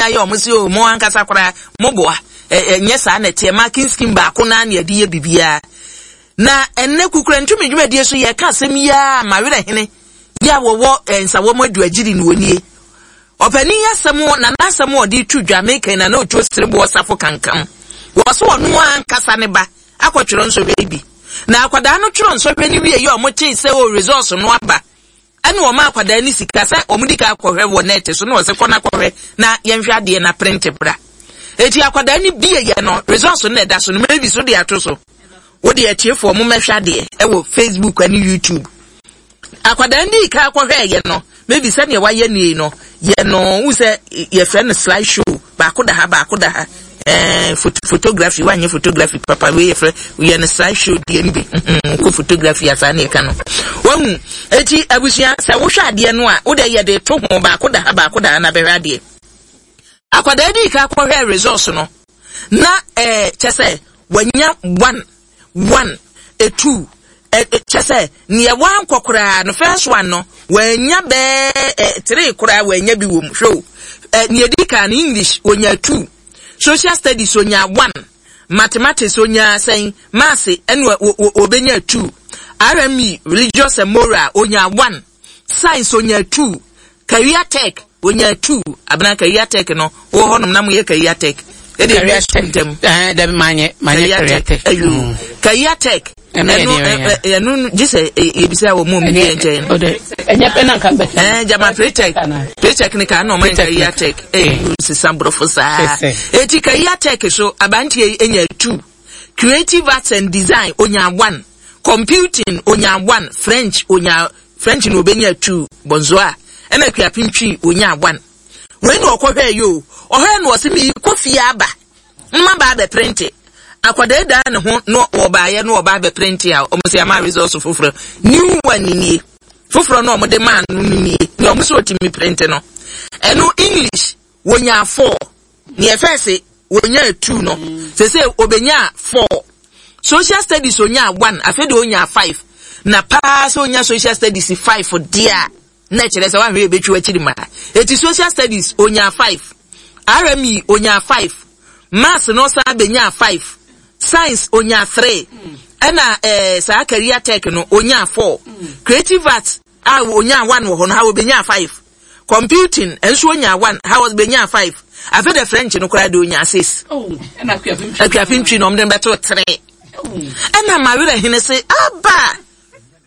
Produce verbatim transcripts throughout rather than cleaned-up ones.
Ayɛ ɔmo sɛ o, mo ankasa koraa mo boa. Ɛnyɛ saa na ɛteɛ. Marking scheme baako naa na yɛde yɛ biribiara. Na ɛnnɛ Kukura Ntumi dwumadie so, yɛka asɛm yi a Mawerɛ Hene yɛ a wɔwɔ Nsawam Aduagyiri no, wɔnie ɔpanin asɛm na n'asɛm a ɔde tu dwa meka na na otuo sereboɔ safo kankam wɔ so. Ɔno ankasa ne ba akɔtwerɛ nsɔhwɛ bi, na akwadaa no twerɛ nsɔhwɛ no wie yɛ, ɔmo tee sɛ o, results no aba, ɛna ɔmo akwadaa no sika sɛ ɔmo di ka akɔhwɛ wɔ net so, na ɔsɛ kɔ na kɔhwɛ na yɛnhwɛ adeɛ na print bra. Eti akwadaa no bie yɛ no, results no na ɛda so no, maybe so de ato so. Wode atiefoɔ mo mɛhwɛ adeɛ ɛwɔ Facebook ne YouTube. Akwadaa no di ka akɔhwɛ yɛ no, maybe sɛdeɛ wayɛ nie no yɛ no, wu sɛ yɛfrɛ no slide show, baako da ha, baako da ha. ɛɛ phot photography wanyɛ photography papa. Wei yɛfrɛ yɛ no slide show deɛ no bi kɔ photography asa ne yɛka no wahu. Eti abusua, sɛ wohwɛ adeɛ no a, wode yɛde to ho, baako da ha, baako da ha, na bɛhwɛ adeɛ. Akwadaa di ka akɔhwɛ results no na ɛɛ kyɛ sɛ wanya one, one, a two, ɛ kyɛ sɛ nea wankɔ koraa no, first one no wanya bɛɛ ɛ three koraa, wanya bi wɔ mu. Hwɛ o, ɛ nea edi kan no, English onya two, social studies onya one, mathematics onya sɛn, maths ɛna obenya two, R M E, religious and moral, onya one, science onya two, career tech onya two. Abena, career tech no wɔ hɔnom na mo yɛ career tech ɛde ɛwi sukuu ntɛm? Ɛɛ, dabi, maa nyɛ maa nyɛ career tech. Ayo, career tech ɛno yɛ ɛno deɛ. ɛ ɛno gye sɛ yɛbisa wɔ mu omi bi nkyɛn no. Ɛnyɛ pɛ na nka bɛ. Ɛɛ jama pretech pretech ne ka na ɔmo yɛ career tech. Ɛɛ sisan borɔfo saa. Eti career tech so, abanteɛ yi enya two, creative arts and design onya one, computing onya one, French onya, French na obenya two, bonzoa, ɛna Akuapem Twi onya one. Wei na ɔkɔhwɛ yi o, ɔhwɛ na ɔsɛ mi kɔ fie aba mma ba abɛ print. Akwadaa da ne ho na ɔbaayɛ na ɔba abɛ print a, ɔmo sɛ ama results foforɔ, new one nie, foforɔ na ɔmo de maa no no nie. Nea ɔmo sɛ ɔtumi print no, ɛno English wonya four, nea ɛfɛ sɛ wonya two no, sɛ sɛ obenya four, social studies onya one, afei de onya five. Na paa sɛ onya social studies five deɛ a, na kyerɛ sɛ wahwɛ ebetwi akyiri ma. Eti social studies onya five, R M E onya five, maths no san benya five, science onya three, ɛna ɛɛ saa career tech no onya four, creative arts a onya one wɔ hɔ no ha, obenya five, computing nso onya one ha, obenya five. Afei de French no koraa de onya six. Akuapem Twi na ɔmo de bɛto three. Ɛna Mawerɛ Hene se aba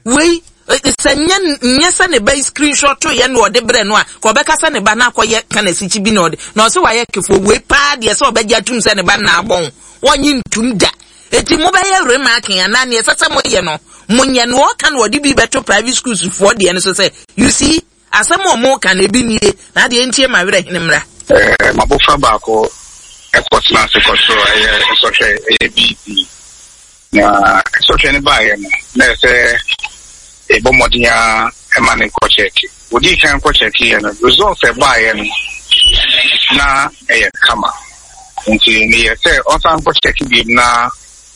wei sɛ nyɛ nyɛ sɛ ne ba yi screenshot yɛ na ɔde brɛ no a, ka ɔbɛka sɛ ne ba na akɔyɛ kana sikyi bi na ɔde na ɔsɛ wayɛ kefoɔ wei paa deɛ, sɛ ɔbɛgye atum sɛ ne ba na abɔn, wɔnye ntum da. Eti mobɛyɛ remarking anaa neɛ ɛsɛ sɛ moyɛ no, monyɛ no. Ɔka na ɔde bi bɛto private schools foɔ deɛ no so sɛ, you see, asɛm a ɔmo ka na ebi nie na adeɛ ntie. Mawerɛ Hene mmra. Ɛɛ mabɔfra baako ɛkɔtena ase kɔtwerɛ ɛyɛ nsɔhwɛ, ɛyɛ B E C, na nsɔhwɛ no baeɛ no, na ɛsɛ ɛbɔ mmɔden a ɛma ne kɔ kyɛɛke. Odii kan kɔ kyɛɛke yɛ no, results ɛbaeɛ no na ɛyɛ kama, nti meyɛ sɛ ɔnsan kɔ kyɛɛke bio na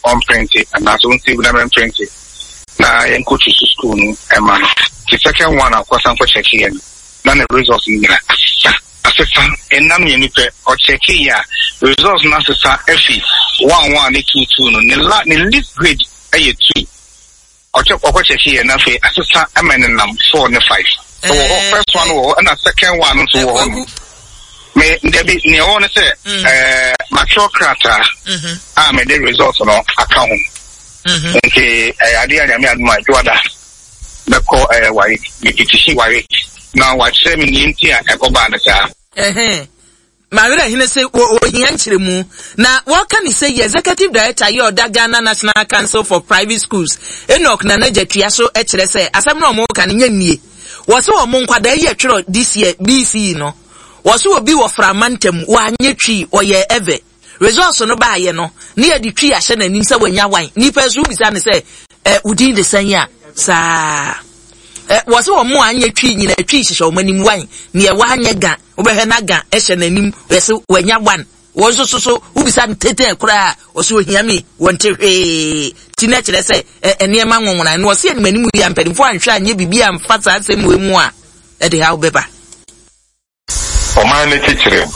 ɔm print anaasɛ ɔn save na mɛm print na yɛnkɔtu so school no ɛma no. Nti second one a ɔkɔsan kɔ kyɛɛke yɛ no, na ne results no nyina asesa asesa Ɛnam mmienu pɛ ɔkyɛke yi a, results no asesa afi one one ne two two no. Ne la ne least grade ɛyɛ two. Ɔkyɛ ɔkɔ kyɛke yɛ, na afei asesa ɛma ne nam four ne five. Ɛwɔ hɔ, first one wɔ hɔ, ɛna second one nso wɔ hɔ no. Me dabi, nea ɛwɔ no sɛ ɛɛ matwerɛ krataa a mede results no aka ho, nti ɛyɛ adeɛ a Nyame adom a, dwoada bɛkɔ ɛɛ ware mepetisi ware na wakyerɛ me nea nti a ɛkɔbaa no saa. Ɛhɛn, Mawerɛ Hene sɛ ohia nkyerɛmu na wɔka ne sɛ yɛ executive director yɛ ɔda Ghana National Council for Private Schools, Enoch Nana Gyatua, so kyerɛ sɛ asɛm no a ɔmo ka no nyɛ nnie. Wɔ sɛ ɔmo nkwadaa yi atwerɛ this year B E C no, wɔ sɛ obi wɔ Frama ntam wanyɛ Twi, ɔyɛ Ewe. Results no baayɛ no, ne yɛde Twi ahyɛ n'anim sɛ wanya wan. Nipa nso wobisa ne sɛ ɛ wodin de sɛn a saa ɛ wɔ sɛ wɔn a anyɛ Twi nyina Twi hyehyɛ wɔn anim wan. Neɛ wanyɛ Ga, wobɛhwɛ na Ga ɛhyɛ n'anim, yɛsɛ wanya one. Wɔn nso so so wobisa no tete koraa, ɔsɛ ohia mi, wɔn te hwee ti na kyerɛ sɛ ɛ nneɛma nwonwona no. Ɔsɛ anim anim yi a, mpanimfoɔ anhwɛ anyɛ biribi amfa saa asɛm wɔ mu a, ɛde ha wobɛba. Ɔman no kyekyere no